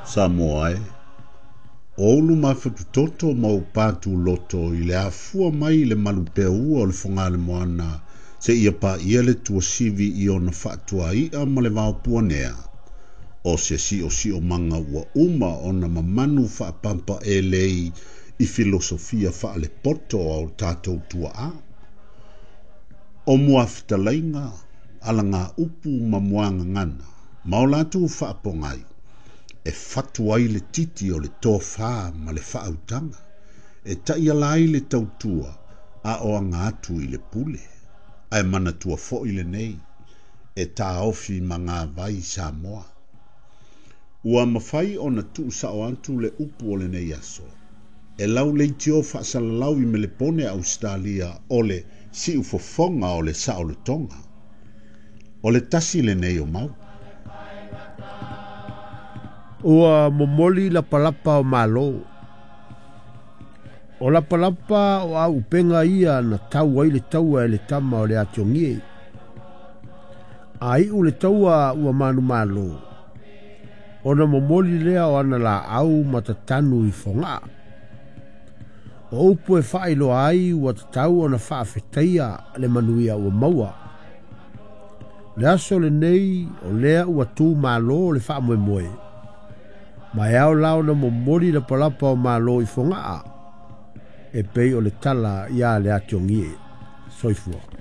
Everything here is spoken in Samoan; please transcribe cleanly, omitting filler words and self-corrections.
Samoa e, o ou luma fatutoto ma ou pātūloto i le afua mai i le malupeaua o le Fogalemoana seia paia le tuasivi i ona faatuai'a ma le vaopuanea, o se siosiomaga ua uma ona mamanu faapampaelei i filosofia faalepoto a o tatou tuaa. O muafetalaiga, alagaupu ma muagagana, ma o latou faapogai, e fatu ai le titi o le tofā ma le faautaga, e taiala ai le tautua a o aga atu i le pule. Ae manatua foi lenei, e taofi magavai Samoa. Ua mafai ona tuusao atu le upu o lenei aso, e lau leitio faasalalau i Melepone Ausetalia o le siufofoga o le saolotoga. O le tasi lenei o mau. Ua momoli lapalapa o Malo. O lapalapa o auupega ia na tau ai le taua e le tama o le Atiogie. A iu le taua ua manumalo, ona momoli lea o ana laau ma tatanu i Fogaa. O upu e faailoa ai ua tatau ona faafetaia le manuia ua maua. O le aso lenei o lea ua tu malo le faamoemoe, ma e ao la ona momoli lapalapa o Malo i Fogaa, e pei o le tala ia le Atiogie. Soifua.